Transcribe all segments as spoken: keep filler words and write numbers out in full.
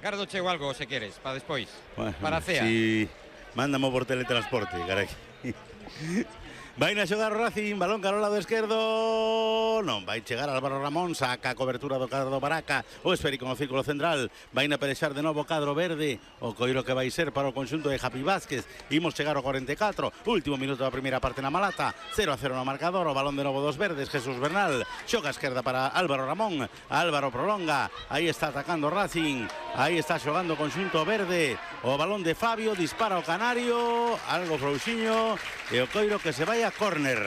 Gardo chego algo, se queres, para despois. Bueno, para a cea. Si mándamo por teletransporte, carai. Vai na xogar o Racing, balón cara ao lado esquerdo. Non, vai chegar Álvaro Ramón, saca a cobertura do cadro Baraca, o esférico no círculo central. Vai na pelexar de novo o cadro verde, o coiro que vai ser para o conxunto de Javi Vázquez. Imos chegar ao cuarenta e catro, último minuto da primeira parte na Malata. cero a cero no marcador, o balón de novo dos verdes, Jesús Bernal. Xoga a esquerda para Álvaro Ramón, Álvaro prolonga, aí está atacando Racing, aí está xogando o conxunto verde. O balón de Fabio, dispara o Canario, algo frouxiño, e o coiro que se vai a córner.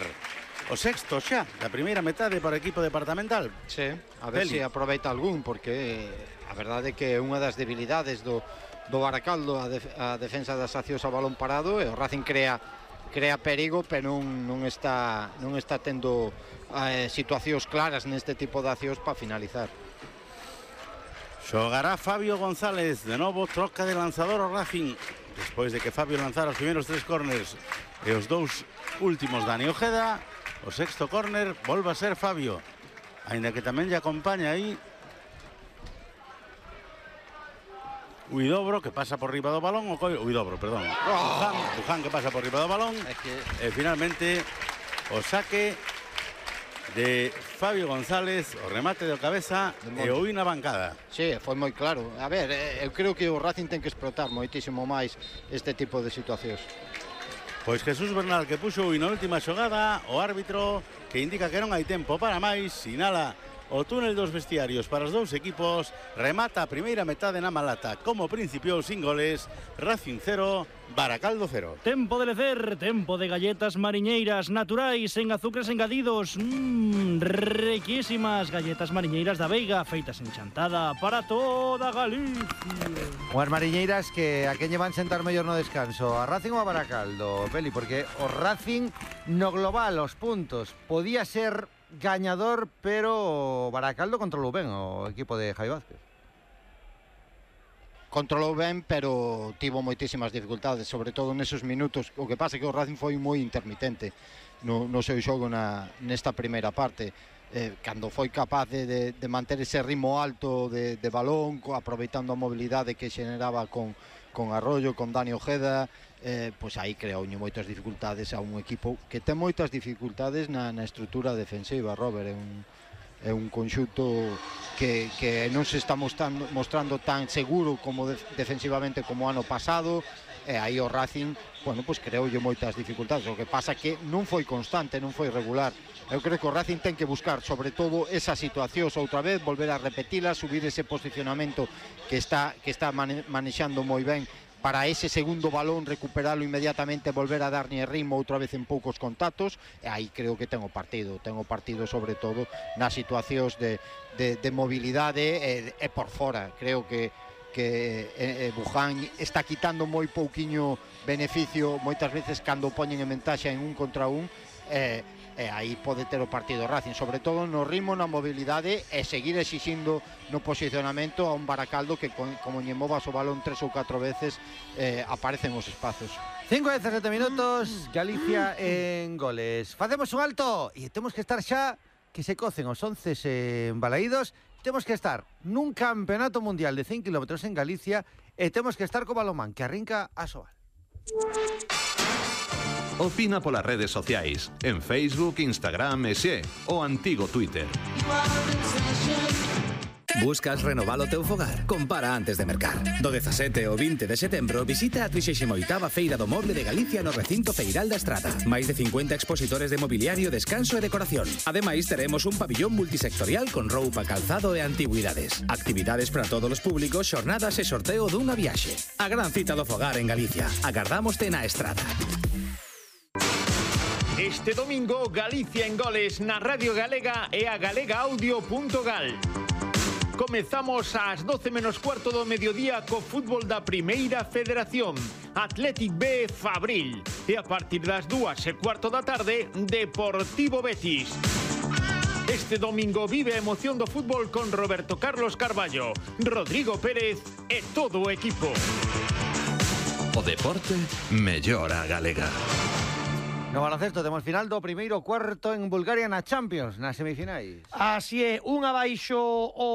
O sexto xa da primeira metade para o equipo departamental. Sí, a ver se si aproveita algún, porque a verdade é que é unha das debilidades do, do Baracaldo, a, def a defensa das accións a balón parado, e o Racing crea crea perigo, pero non, non está non está tendo eh, situacións claras neste tipo de accións para finalizar. Xogará Fabio González, de novo troca de lanzador o Racing, despois de que Fabio lanzara os primeiros tres córners e os dous últimos Dani Ojeda. O sexto córner volve a ser Fabio, aínda que tamén lle acompaña aí Huidobro, que pasa por riba do balón, o coi... Huidobro, perdón. Buján, Buján que pasa por riba do balón. É que... E finalmente o saque de Fabio González, o remate de cabeza e o na bancada. Sí, foi moi claro. A ver, eu creo que o Racing ten que explotar moitísimo máis este tipo de situacións. Pois Jesús Bernal, que puxo na última xogada, o árbitro que indica que non hai tempo para máis, sinala o túnel dos vestiarios para os dous equipos, remata a primeira metade na Malata, como principiou sin goles, Racing cero, Baracaldo cero. Tempo de lecer, tempo de galletas mariñeiras naturais en azúcares engadidos, mmm, riquísimas galletas mariñeiras da Veiga, feitas en chantada para toda Galicia. Unhas mariñeiras que a quen lle van sentar mellor no descanso, a Racing ou a Baracaldo, Peli, porque o Racing no global, os puntos, podía ser gañador, pero Baracaldo controlou ben o equipo de Javi Vázquez. Controlou ben, pero tivo moitísimas dificultades, sobre todo nesos minutos. O que pasa é que o Racing foi moi intermitente no, no seu xogo na, nesta primeira parte. Eh, cando foi capaz de, de, de manter ese ritmo alto de, de balón, aproveitando a mobilidade que xeneraba con, con Arroyo, con Dani Ojeda, eh, pois aí creou moitas dificultades a un equipo que ten moitas dificultades na, na estrutura defensiva, Robert. É un, é un conxunto que, que non se está mostrando, mostrando tan seguro como de, defensivamente como o ano pasado, e aí o Racing, bueno, pois creoulle moitas dificultades. O que pasa que non foi constante, non foi regular. Eu creo que o Racing ten que buscar sobre todo esas situacións outra vez, volver a repetilas, subir ese posicionamento que está que está mane manexando moi ben para ese segundo balón, recuperalo inmediatamente, volver a darlle ritmo outra vez en poucos contactos, e aí creo que ten o partido, ten o partido sobre todo nas situacións de, de, de mobilidade e, e por fora. Creo que que eh, Buján está quitando moi pouquiño beneficio moitas veces cando poñen en ventaxa en un contra un, eh, e aí pode ter o partido Racing, sobre todo no ritmo, na mobilidade, e seguir exixindo no posicionamento a un Baracaldo que con, como lle movas o balón tres ou catro veces eh, aparecen os espazos. cinco a dezasete minutos, Galicia en goles. Facemos un alto e temos que estar xa que se cocen os once embalaídos. Temos que estar nun campeonato mundial de cen kilómetros en Galicia e temos que estar co balonmán que arrinca a Soal. Opina polas redes sociais, en Facebook, Instagram e xe, o antigo Twitter. Buscas renovar o teu fogar? Compara antes de mercar. Do dezasete ao vinte de setembro visita a trixésima oitava Feira do Moble de Galicia no recinto Feiral da Estrada. Máis de cincuenta expositores de mobiliario, descanso e decoración. Ademais, teremos un pabillón multisectorial con roupa, calzado e antigüidades. Actividades para todos os públicos, xornadas e sorteo dunha viaxe. A gran cita do fogar en Galicia. Agardámoste na Estrada. Este domingo, Galicia en goles na Radio Galega e a galega audio punto gal. Comezamos ás doce menos cuarto do mediodía co fútbol da Primeira Federación, Athletic B Fabril, e a partir das dúas e cuarto da tarde, Deportivo Betis. Este domingo vive a emoción do fútbol con Roberto Carlos Carballo, Rodrigo Pérez e todo o equipo. O deporte mellora a galega. No baloncesto temos final do primeiro cuarto en Bulgaria na Champions, nas semifinais. Así é, un abaixo o